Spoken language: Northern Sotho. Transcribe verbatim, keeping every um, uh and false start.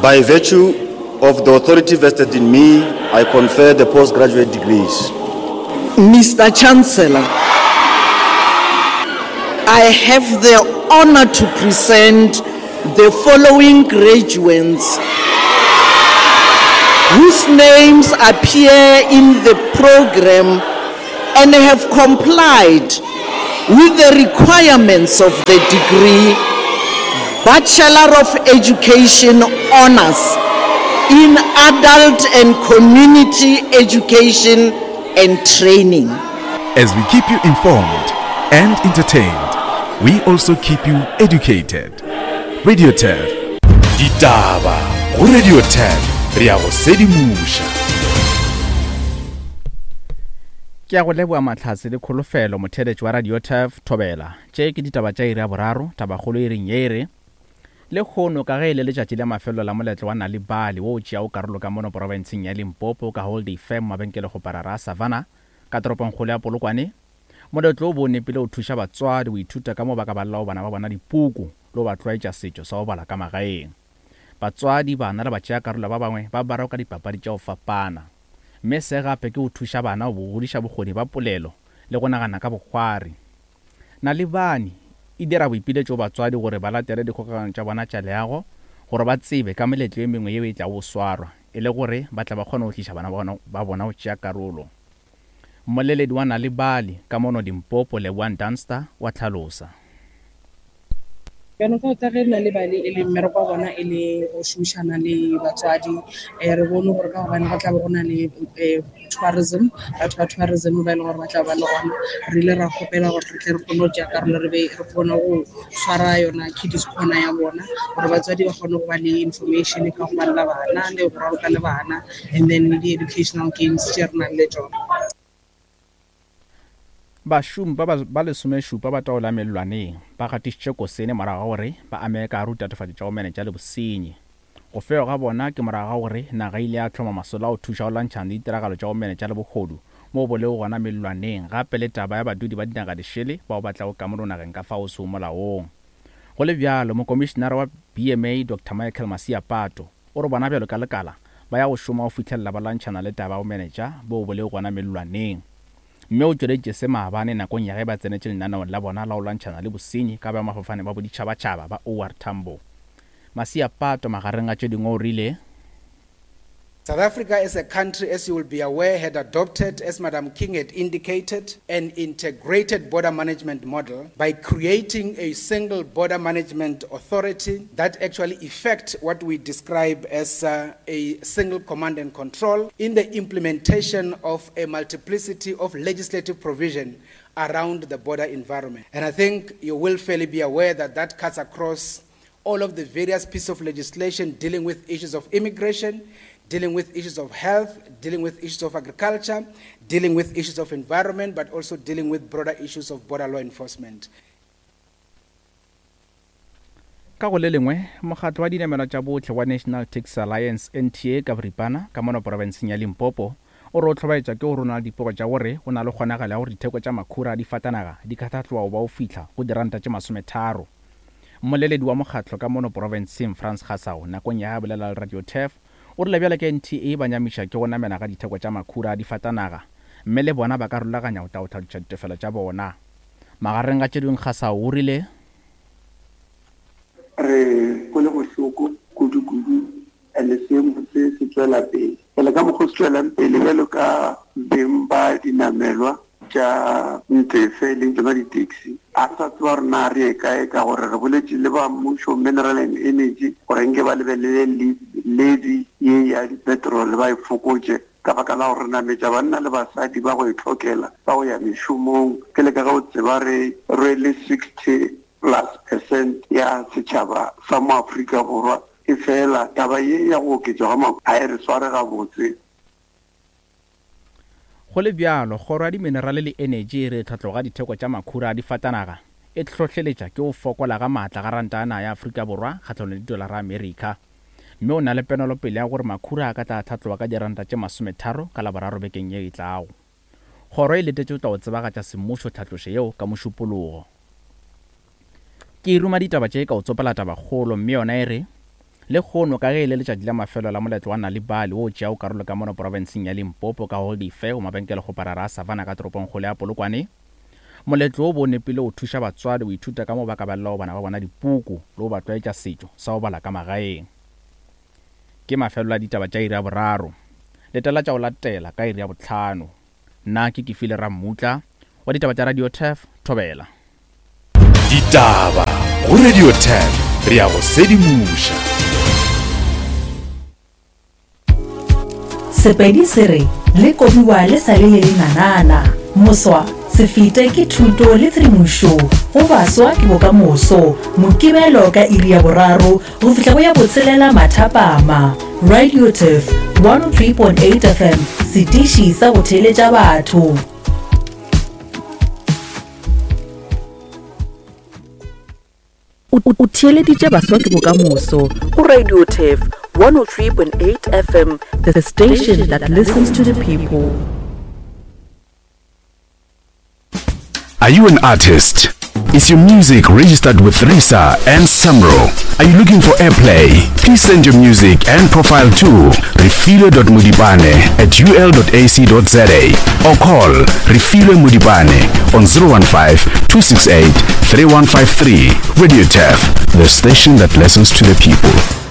By virtue of the authority vested in me, I confer the postgraduate degrees. Mister Chancellor, I have the honor to present the following graduates whose names appear in the program and have complied with the requirements of the degree Bachelor of Education Honors in Adult and Community Education and Training. As we keep you informed and entertained, we also keep you educated. Radio Turf. Ditaba go Radio Turf, re ya go sedimoša. Ke a go leboa Mahlatse le Kholofelo, motheeletši wa Radio Turf Thobela. Tše ke ditaba tša iri ya boraro, tabakgolo e reng ye e re lehono ka ge e le letšatši la mafelelo la moletlo wa Nal'ibali wo o tšeago karolo ka mono porofenseng ya Limpopo ka Holiday Firm mabenkelekgoparara a Savannah ka toropongkgolo ya Polokwane. Moletlo o bo o nepile go thuša batswadi go ithuta ka mo ba ka balelago bana ba bona dipuku le go ba tlwaetša setšo sa go bala ka magaeng. Batswadi, bana le batšeakarolo ba bangwe ba barwa ka dipapadi tša go fapana. Mme se gape ke go thuša bana go godiša bokgoni ba polelo le go nagana ka bokgwari. Nal'ibali e dira boipiletšo go batswadi gore ba latele dikgokagano tša bona tša leago gore ba tsebe ka meletlo e mengwe yeo e tlago go swarwa e le gore ba tle ba kgone go tliša bana ba bona go tšea karolo. Mmoleledi wa Nal'ibali ka mono Limpopo, Leboang Dunster, wa hlalosa. Jaanong ka ge Nal'ibali e le mmereko wa bona e le go šomišana le batswadi, um re bone gore ka gobane go tla be go na le um tourism, batho ba tourism ba e leng gore ba tla ba le gona, re ile ra kgopela gore re tle re kgone go tšea karolo, re be re kgone go swara yona kiddies corner ya bona gore batswadi ba kgone go ba le information ka go balela bana le go raloka le bana, and then le di-educational games tše re nang le tšona. Bašomi ba ba lesomešupa ba taolo ya mellwaneng ba gatišitše kosene morago ga gore ba amege ka gare go ditatofatšo tša go menetša le bosenyi. Go fewa ga bona ke morago ga gore naga e ile ya hloma masolo a go thuša go lwantšhana le ditiragalo tša go menetša le bohodu mo bo lego gona mellwaneng, gape le taba ya badudi ba dinaga dišele bao ba tlago ka mono nageng ka fao sego molaong. Go le bjalo, mokomišenare wa B M A Doctor Michael Masiapato o re bona bjalo ka lekala ba ya go šoma go fihlelela ba lwantšhana le taba ya go menetša bo bo lego gona mellwaneng. Mme o tšweleditše se maabane nakong ya ge ba tsenetše lenaneong la bona la go lwantšhana le bosenyi ka baemafofane ba boditšhabatšhaba ba O R Tambo. Masiapato magareng a tše dingwe o rile South Africa as a country, as you will be aware, had adopted, as Madam King had indicated, an integrated border management model by creating a single border management authority that actually effect what we describe as, uh, a single command and control in the implementation of a multiplicity of legislative provision around the border environment. And I think you will fairly be aware that that cuts across all of the various pieces of legislation dealing with issues of immigration, dealing with issues of health, dealing with issues of agriculture, dealing with issues of environment, but also dealing with broader issues of border law enforcement. Ka go le lengwe, mokgatlo wa dinamelwa tša bohle wa National Taxi Alliance N T A ka boripana ka mono porofenseng ya Limpopo o re o hlobaetša ke go rona le dipego tša gore go na le kgonagalo ya gore ditheko tša makhura a difatanaga di ka tlhatloga go ba go fihla go diranta tše masometharo. Mmoleledi wa mokgatlo ka mono porofenseng Frans Gasau nakong ya ge a bolela le Radio Turf o rile bjale ka N T A ba nyamiša ke go namela ga ditheko tša makhura a difatanaga mme le bona ba ka rulaganya go tla go tlhaloša ditefelo tša bona. Magareng ga tše dingwe Gasau o rile re kwele bohloko kudu-kudu and seemo se se tšwela pele. Pele ka mokgwa o se tšwelang pele bjalo ka beng ba dinamelwa tša ntefe leng tsona di-taxi, a re sa tseba gore na re ye kae ka gore re boletše le ba mmušo Mineral and Energy gore nke ba lebelele levy ye ya di-petrol ba e fokotše ka baka la gore re nametša banna le basadi ba go e tlhokela ba go ya mešomong. Ke le ka ge o tseba re rwele sixty plus percent ya setšhaba sa mo Afrika Borwa, e fela taba ye ya go oketšwa ga makhura ga e re sware gabotse. Go le bjalo, kgoro ya diminerale le energy e re tlhatloga ditheko tša makhura a difatanaga e hlohleletša ke go fokola ga maatla ga ranta ya naga ya Afrika Borwa kgahlanong le didolara Amerika. Mme o na le penelopele ya gore makhura a ka tla tlhatloga ka diranta tše masometharo ka Laboraro bekeng ye e tlago. Kgoro e letetše go tla go tsebagatša semmušo tlhatlošo yeo ka mošupologo. Ke ruma ditaba tše ka go tsopela tabakgolo, mme yona e re Lehono ka ge e le letšatši la mafelo la moletlo wa Nal'ibali wo o tšeago karolo ka mono profenseng ya Limpopo ka go dife go mabenkelekgoparara a Savannah ka toropongkgolo ya Polokwane. Moletlo wo bo o nepile go thuša batswadi go ithuta ka moo ba ka balelago bana ba bona dipuku le go ba tlwaetša setšo sa go bala ka magaeng. Ke mafelelo a ditaba tša iri ya boraro. Letela tša go latela ka iri ya bohlano. Nna ke Kefile Rammutla wa ditaba tša Radio Turf, Thobela. Ditaba go Radio Turf, re a go sedimoša. Sepedi se re le kobiwa le sa le le lenanana. Moswa se fete ke thuto le tshedimošo go baswa ke bokamoso. Mokibelo ka iri ya boraro go fihla go ya botshelela mathapama. Radio Turf one oh three point eight F M, setiši sa go theeletša batho. O theeleditše baswa ke bokamoso go Radio Turf one oh three point eight F M, the station that listens to the people. Are you an artist? Is your music registered with RISA and SAMRO? Are you looking for airplay? Please send your music and profile to refilwe dot modipane at u l dot a c dot z a or call Refilwe Modipane on zero one five, two six eight, three one five three. Radio Turf, the station that listens to the people.